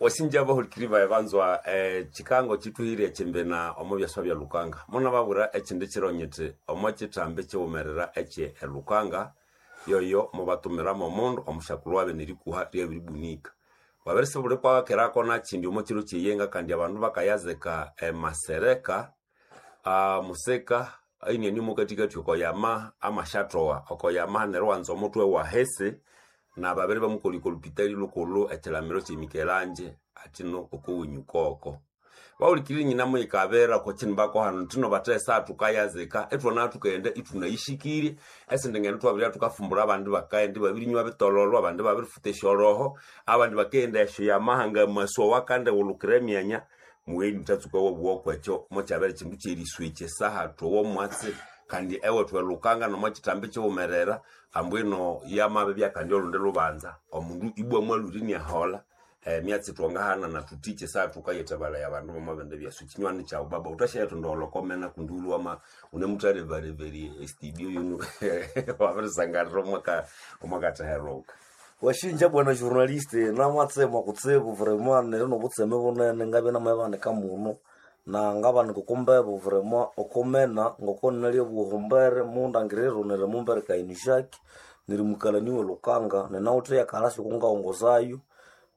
Wasinja bahulikiri baye banzwa chikango chituhire chimbena omo byaswa bya Lukanga. Muna babura echindi chironyete omo chitambi chiwumerera eche Lukanga yoyo mubatumira omundu omushakulu wabe nerikuha ryabiribunika. Wabirise buli kwakirako nachindi omo chiro chiyenga kandi abandu bakayazeka emasereka museka aineni mukatikati okoyama amashatoa okoyama neryo wanza omutwe wa hese na babiri bamukolika olupitali lukulu ekilamiro kyemikelanje atino okuwinyukoko baulikirire nyina muyikabera kochini bakohano tino batesa tukayazika etwona tukaenda itunayishikire esindi ngendo twabirya tukafumbura abandi bakaenda babirinywa bitololo abandi babirifuta esyoroho abandi bakaenda esyo yamahanga maswa wakande wulukira emyanya muweni mutatsuka wobwoko ekyo mokyabere kindu kyeriswekye saha twowomwatsi kandi ewe twelukanga nomo kitambi kiwumerera ambwino yamabe byakandi olundi lubanza omundu ibwa mwaluri niahola myatsi twangahana na tutiche saa tukayetabala abandu bamabende byasu kinywani kyawu baba utashayetonda olokomena kundi ulwama unemutalevaleveri estudio yunu wabirisangalira omwaka omwakataheruka. Washinja bwana journaliste namatsema kutsibu vraiment neri nobutseme bunene ngabya namabanika muno na ngabanika okumbebo vraiment okumena ngoko nalya obuhombere mundangiriro neri mumbere kainishaki neri mukalani we Lukanga ninawithe yakalasi okungaghongozayo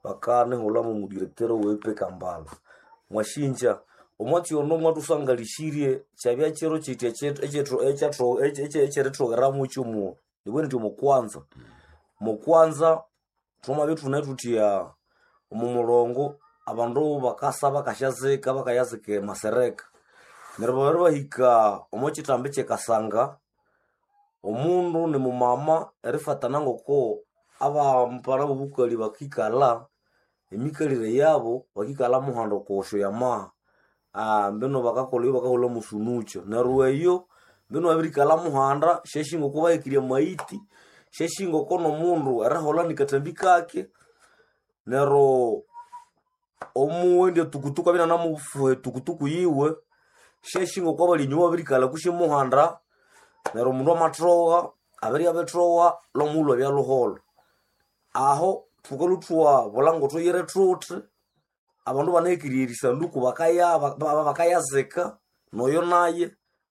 bakanihulhamu omudirector owe Kambala. Mwashinja omwatsi ono mwathusangalishirye kyabya kiro kyithi ekyerithogheramu kyomuo nibwene indi omukwanza mukwanza thwamabya ithune thutya omu mulongo abandu bakasa bakasyazika bakayazika emasereka neryo babere bahika omo kitambi kyekasanga omundu nimumama erifatana ngoko abampara bobukali bakikalha emikalire yabo bakikalha muhanda okosyo yamaha mbino bakakolha bakakolha musunukyo neryo eyo mbino babirikalha muhanda syashinga oko bahekirye amaiti syashinga oko nomundu eriholha nikatambi kake neryo omuwendi etukutuku abya inanamufuha etukutuku yiwe syashinga oko abali enyuma babirikalha kusi muhanda neryo omundu amathowa abirya abithowa lwomughulhu abya lhuholho aho thukalhwa thwabulha ngothuyire thuthi abandu banahekirye erisanduku bakaya bakayazika noyo naye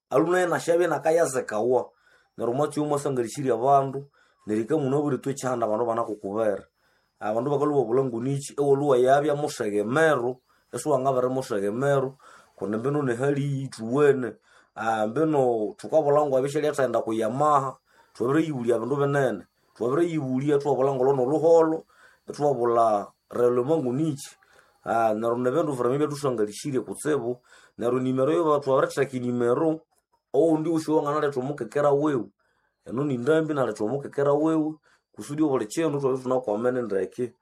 alhu naye nasyabya inakayazikawa neryo omwatsi oyo mwasangalishirye abandu neryo munabwire ithwe ekyihanda abandu banakukubera abandu bakalhwa ibabulha ngunichi ewalhwa wayabya musegemeru isiwangabiri musegemeru kundi mbino nehali ithuwene mbino thukabulha ngwabya isyalyathayenda kuyamaha thwabiriyibulya bindu binene thwabiriyibulya ithwabulha ngolho nolhuholho ithwabulha relema ngunichi neryo nibindu vraiment ebyathusangalishirye kutsibu neryo nimero eyo thwabiritheka enimero owundi wosi owanganaletha omukekera wiwe eno nindambi naletha omukekera wiwe kusudi obuli kindu thwabya ithunakwamene ndeke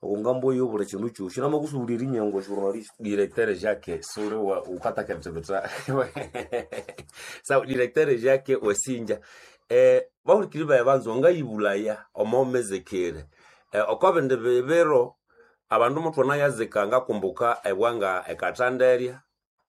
okungambo eyo obuli kindu kyosi namakusubulya erinyango journalist. Directeur Jacques suri wa ukataketebeta sawa directeur Jacques wesinja bahulikiri baye banzwa ngayibulaya omo mezekere okobindi bibiro abandu muthwana yazika ngakumbuka ebwanga ekathanderya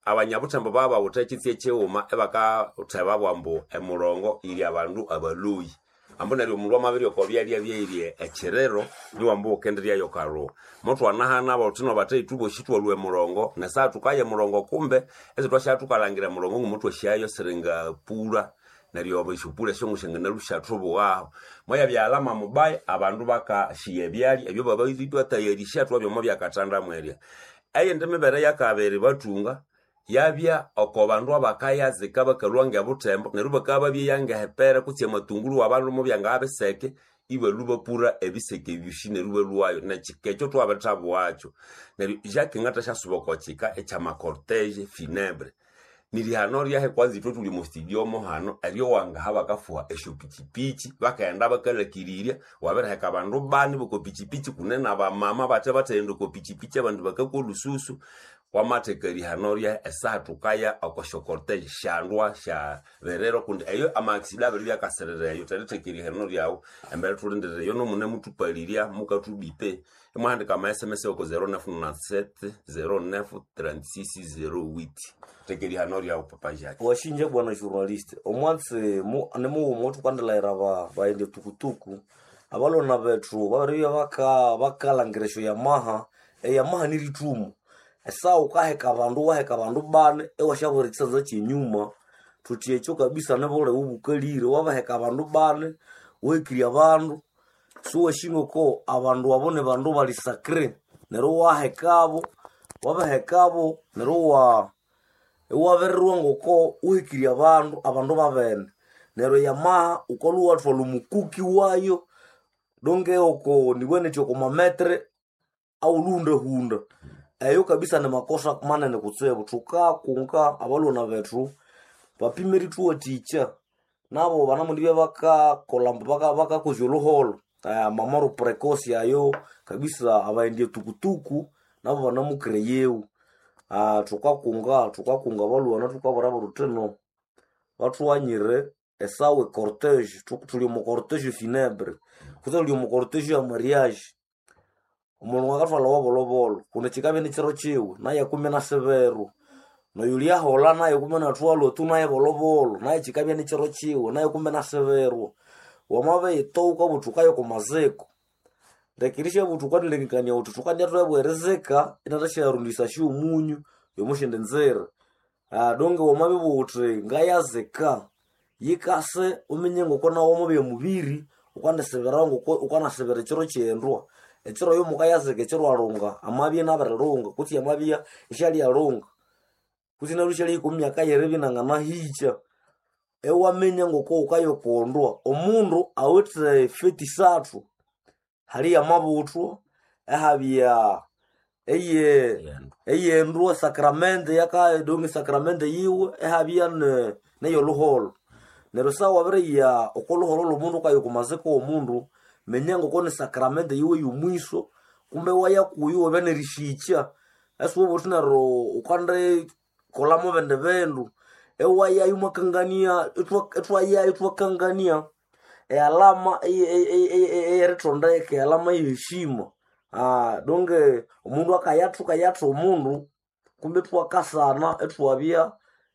abanyabuthembo babawutha ekitsi ekighuma ebakatheba bwambu emurongo yiri abandu abaloi ambu neryo omundu amabirya oko byalya byeirye ekiriro niwambu wukendiryayo kalhuwa muthwanahana bawuthino bathe ithwe bosi thwalhwa emurongo nesaha thukaya emurongo kumbe esi thukalhangira emurongo ngumuthwasyayo siringapulha neryo esyopulha esyongusyanganalhusyathubughaho moyabyalama mubaya abandu bakashiya ebyalya ebyo bababiribathayarisya thwabyomo byakathanda mwerya eyindi mibere yakabiri bathunga yabya oko bandu abakayazika bakalhwa ngebuthembo neryo bakabya babyeya ngehepere kutse amatunguru wabandu mubyangabiseke ibalhwa bapura ebiseke ebyosi neryo ibalhwayo nekika ekyo thwabithabuwakyo neryo Jacques ngathasyasuba oko kika ekyamacortege funebre nirihano ryahe kwanza ithwe thuli mustudio hano eryo wangaha bakafuha esyopichipichi bakaghenda bakalhakirirya wabiriheka abandu bani bokopichipichi kune nabamama bathe bathaghenda okopichipichi abandu bakakwa olhususu wamatheka erihano ryahe esaha thukaya okosyocortege syandwa sya biriro kundi eyo amaaccident abiri byakasirira eyo theritheka erihano ryawu embere thulindirira eyo nomunemuthupalirya mukathubipe imwahandika ama sms oko 0997 09 36 08 theka erihano ryawu papa Jacques. Washinja bwana journaliste omwatsi nimughuma othukandilhaghira baghenda tukutuku abalona bethu babiribya bakalhangira esyo yamaha Eyamaha ni rithumo. Esaha wukaheka abandu waheka abandu bani iwasyabuhira ekisanza kyenyuma, thuthi ekyo kabisa nibulighe obukalire. Wabaheka abandu bani, wuhekirye abandu, siwasi ngoko abandu abo nibandu bali sacre. Neryo iwahekabo, wabahekabo neryo iwabirirwa ngoko wuhekirye abandu, abandu babene. Neryo eyamaha wukalhwa iwathwalha omukuki wayo donge oko nibughe nithi oko mametere awulhuhundahunda. Eyo kabisa ni makosa manene kutsibu. Thukakunga abalhwana bethu bapime erithuwathikya nabo banamundibya bakakolha bakakozya olhuholho. Amamoro precoce ayo kabisa abaghenda tukutuku nabo banamukireyewu. Thukakunga abalhwana thukabwirabo thuthi no bathughanyire esawa ecortege, thuli omo cortege funebre kutse thuli omo cortege ya mariage. Omundu akathwalha owabolhobolho kundi kikabya ini kiro kiwe naye kumi inasibiru. Noyulyaholha naye kumi inathwalwa tu naye bolhobolho naye kikabya ini kiro kiwe naye kumi inasibirwa. Wamabiyithowa wukabugha wuthi wukaya oko maziko, lekirisya wuthi wukanalengekania wuthi thukandya thwabugha erizika inathasyarondya omunyu yomosyindi nzira. Donge wamabibugha wuthi ngayazika, yikase wuminye ngoko nawu wamabya mubiri wukandisibirawo ngoko wukanasibira ekiro kyendwa. Ekiro oyo mukayazika ekiro alunga amabya inabirilunga kutse amabya isyalyalinga kutse inalhwa isyalihika omo myaka yeribya inanganahikya. Iwaminya ngoko wukayakondwa. Omundu awithe feti isathu, hali yamabuthwa, ihabya eyendwa esakramenti donge esakramenti yiwe, ihabya neyolhuholho. Neryo esaha wabiriya oko lhuholho lwomundu wukaya oko maziko womundu, minya ngoko ni sakramenti yiwe yomwiso kumbe iwaya kuyo iwabya nerisikya. Isiwabugha wuthi neryo wukandikolha mobindi bindu. Iwayayo iwakangania ithwayayo ithwakangania ealama eyerithondeka, ealama eyeheshima. Donge omundu akayatha wukayatha omundu kumbe ithwakasana ithwabya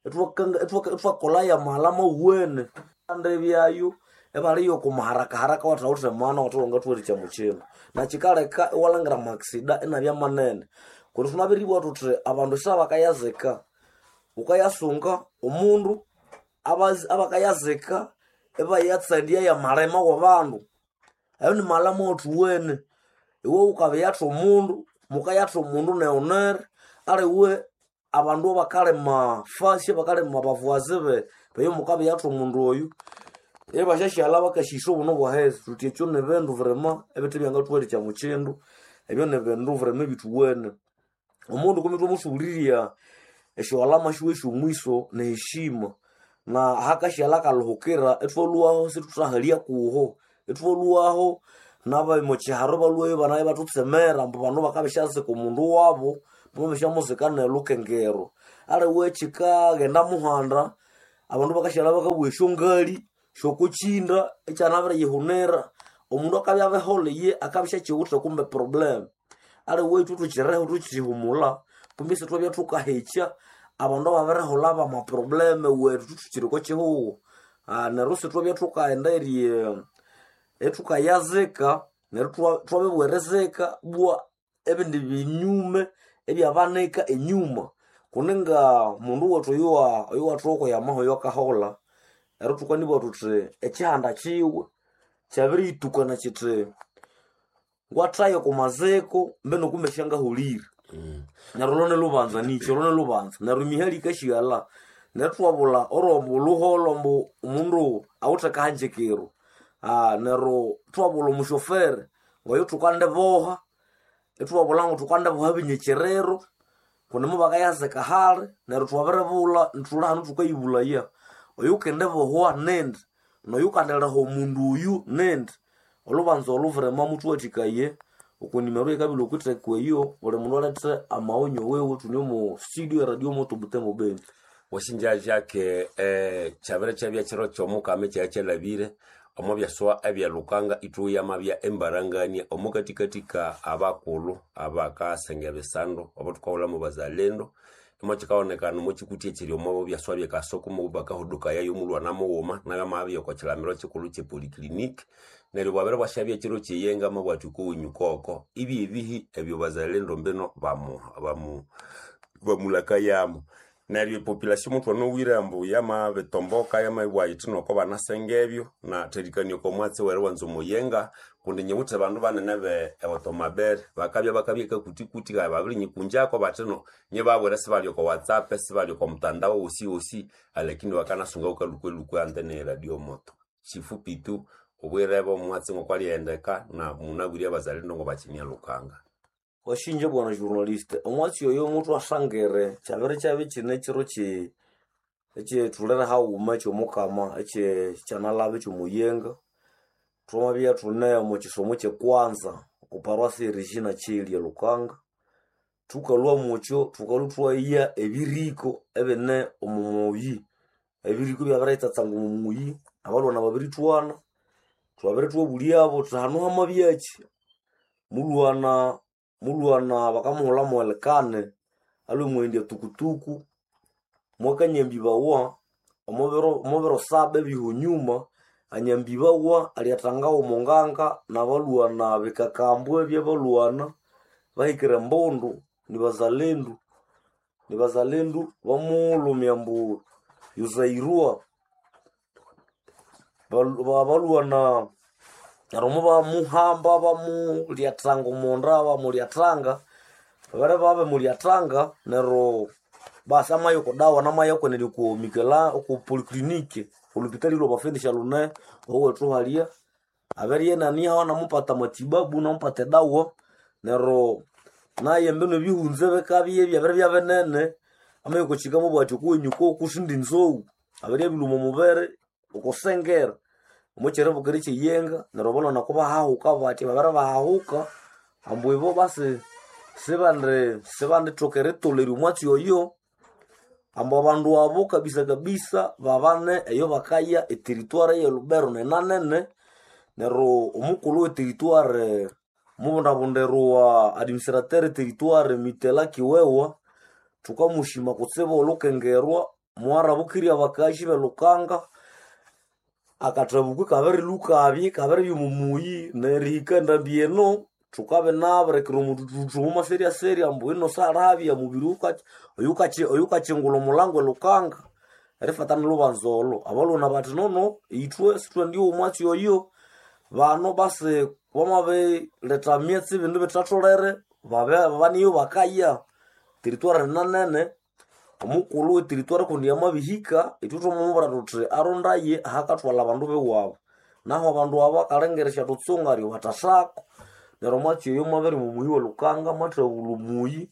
ithwakolha yamalama awuwene. Kandi ibyayo ibaliya oko maharakaharaka awathawithe maana awathe wangathuwathikya omo kindu. Nakikaleka iwalhangira amakisida inabya manene. Kundi thunabiribugha thuthi abandu esaha bakayazika, wukayasunga omundu abakayazika ibayatsandya yamalima wabandu. Ayo ni malama awathuwene. Iwe wukabiyatha omundu, mukayatha omundu neghunere aliwe abandu abakalima fasi abakalima bavuwazi beyo mukabiyatha omundu oyu ibasyasyalha bakasyisa obunu bwahezi. Thuthi ekyo nibindu birima ebithe byangathuwathikya omo kindu, ebyo nibindu birima ebithuwene. Omundu kumi ithwamusughulirya esyowalama syiwe syomwiso neheshima na ahakasyalha akalhuhukira ithwalhwaho isithuthahalya kuho. Ithwalhwaho nabamokyiharo ibalhwayo ibana ibathutsemera ambu bano bakabisyazika omundu wabu, bamabishyamuzika nelhukengero. Aliwe kyikaghenda muhanda, abandu bakasyalha bakabugha esyongali syokokyinda ekyanabiriyihunira. Omundu akabya abiholha iye akabya isyakiwithe kumbe problem. Aliwe ithwe thukireho thukihumulha kumbe isithwabya thukahekya abandu ababiriholha bamaproblem wethu thuthukiri oko kihugho. Neryo isithwabya thukaghenda ithukayazika neryo thwabibugha erizika bwa ebindi binyume ebyabanika enyuma. Kuninga mundu wethu oyuwathoka okwiyamaha oyo akaholha, neryo thukanibugha thuthi ekihanda kiwe kyabiriyitukana kithi ngwathaya oko maziko mbino kumbe syangaholire. Neryo olho nilhubanza nikyi, olho nilhubanza. Neryo emihali yikasyighalla. Neryo ithwabulha orwambu olhuholho ambu omundu awithe akahanjikiro. Neryo ithwabulha omushofere ngoyo thukandiboha, ithwabulha ngo thukandiboha ebinyekyerero kundi mubakayazika hali neryo thwabiribulha thuli hanu thukayibulhaya. Oyukendibohwa nindi, noyukandiliha omundu oyu nindi. Olhubanza olhu birima muthuwathikaye oko nimero eyikabilha okwitheko eyo buli mundu alethe amaghonyo wiwe thune omo studio e radio moto Butembo Beni. Wasinja Jacques kyabere kyabya kiro kyomukama ekyaya kyalhabire omo byaswa ebyalukanga ithwe yamabya embarangania omo katikatika abakulhu abakasenga ebisando abo thukahulhamu bazalendo. Imochikaonekana omo chikuti echiri omo byaswa byekasoko mubakahuduka yayo mulwana mughuma nayo amabya oko chilamiro chikulhu che polyclinic. Neryo bwabere bwasyabya ekiro kyeyenga mabwatha okowinyu koko ibyebihi ebyo bazalendo mbino bamu bamu bamulakayamo. Neryo epopulation muthwanowire ambu yamabitomboka yamabibugha yithi noko banasenga ebyo na therikania oko mwatsi weriwanza omuyenga kundi nyiwithe bandu banene be eotomabere bakabya bakabya kakutikuti kaya babirinyikunjako bathi no nyibabwira sibali oko whatsapp sibali oko mtandao wosi wosi alakini bakanasunga wukalukwe antene ye radio moto. Chifupi tu obwirebo omwatsi ngokwaliyendeka na munabwire abazalendo ngobakimya Lukanga. Washinja bwana journaliste, omwatsi oyo muthwasangire kyabere kyabya kine ekiro kyi ekyithulere haghuma ekyomukama ekye kyanalaba ekyomuyenga. Thwamabya thune omo kisomo kyekwanza oko paroisse e Regina Coeli e Lukanga. Thukalhwa mukyo thukalhwa ithwaya ebiriko ebine omo muyi. Ebiriko ibyabiriyitsatsanga omo muyi, abalhwana babirithwana, thwabere thwabulyabo thuthi hanu hamabyakyi? Mulhwana mulhwana bakamuhulha mwelikane alhwe mughendya tukutuku, mwakanyambibawa omobiro saba ebihonyuma, anyambibawa alyathangawa omo nganga nabalhwana bikakambwe ebyabalhwana bahikire embundu nibazalendu nibazalendu bamulhumya ambu yuzairwa. Abalhwana neryo mubamuhamba bamulyathanga omonda bamulyathanga, babere babimulyathanga neryo basi amaya oko dawa namaya kwenene oko mikela oko polyclinic olhupitali lwabafendisya lune owethu halya. Abere inanihaho inamupata amatibabu inamupata edawa neryo naye mbinu ebihunza bikabya ibyabere byabinene, amaya okwakyika amabugha athi okuwenyu koku sindi nzou, abere abilhwa omwa mubere okosengera omwakyiribukiro ekyeyenga neryo abalhwana kubahahuka bathya babere bahahuka ambu ibo basi sibandi sibandithoka eritolherya omwatsi oyo. Ambu abandu abo kabisa kabisa babane eyo bakaya eterituare eye Lubero nenanene. Neryo omukulhu weterituare mubundabundirwa administrateur eterituare Mitela Kiwewa, thukamushima kutsibu olhukengerwa mwarabukirya abakazi belukanga akathabuku ikabirilhukabya ikabiribya omo muyi nerihika endambi eno thukabinabirikira omuthuthu omo maseryaserya ambu ino salhabya mubiri oyukakyingulha omulango elukanga erifatana lhubanza olho. Abalhwana bathi nono ithwe sithwendiowa omwatsi oyo, bano basi bamabiletha myatsi ebindu bithatholere babe baniyo bakaya teritware nanene. Omukulhu weteritware kundi yamabihika ithwe thwamamubwira thuthi arondaye ahakathwalha abandu biwabo. Nahu abandu abo akalengera esyathuntsunga aryo bathasako. Neryo omwatsi oyo mwabiri omo muyi welukanga mwathabulha omuyi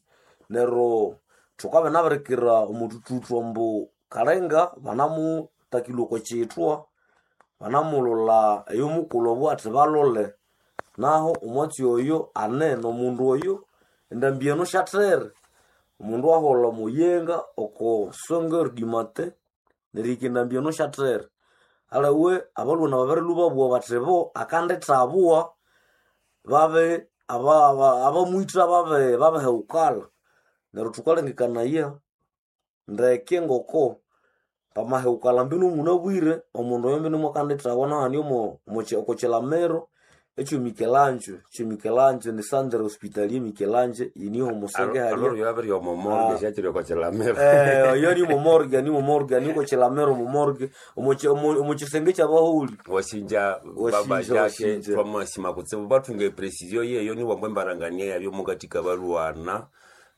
neryo thukabya inabirikira omuthuthuthu ambu kalenga banamutakilhwa oko kyithwa, banamulholha eyomukulhu abugha athi balhole. Nahu omwatsi oyo ane nomundu oyo endambi eno syathere. Omundu aholha omuyenga oko 5h du matin nerihika endambi eno syathere. Aliwe abalhwana babirilhwa ibabugha bathi bo akandithabugha babe abamwitha babe babihewukalha. Neryo thukalengekanaya ndeke ngoko pamahewukalha mbinu munabwire omundu oyo mbinu mwakandithabugha nahano omo oko kyilamiro ekyo Mikelanjo, ekyo Mikelanjo ni centre hospitalier Mikelanjo yiniho omusenge halya. Aloryo yabiri omo morgue syakyiri oko kilamiro. Oyo ni omo morgue ni omo morgue ni oko kilamiro omo morgue omo kyisenge kyabaholi. Wasinja baba Wasinja Jake wasinja. twamasima kutsibu bathunga eprecision yeyo niwambu embarangania yabyo mukathika balwana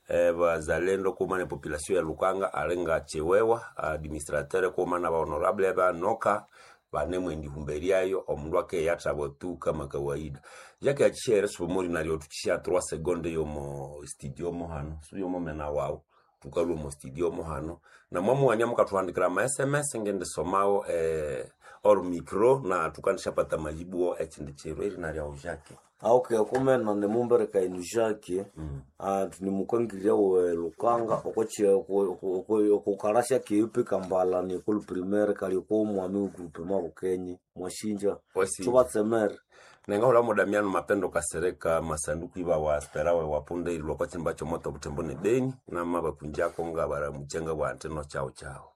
bazalendo kuma ne population ya Lukanga alinga Chiwewa administrateur kuma na honorable banoka banemwendihumberyayo omundu akeyathabwa tu kama kawaida. Jake achishere subumuri naryo tukisha 3 seconde yomo studio mo hano suyomo mena wawu tukalwa omo studio mo hano na mwamuwania mukathuhandikira ama sms ngendisomawo or micro na tukandishapata majibu ekindi kiro eri naryawo Jake. Okay, okumena nimumbereka enu Jacques nimukangirya we Lukanga okukalasya keipi Kambala ni école primaire kali oko mwami groupement Bukenye mwashinja Wasinja. thubatsemere. Nengahola Damiano Mapendo Kasereka masanduku iba wa sperawe wapunda ilwa kwa chimba chomoto butembo ne Beni na mabakunjako nga baramuchenga bwa anteno chao chao.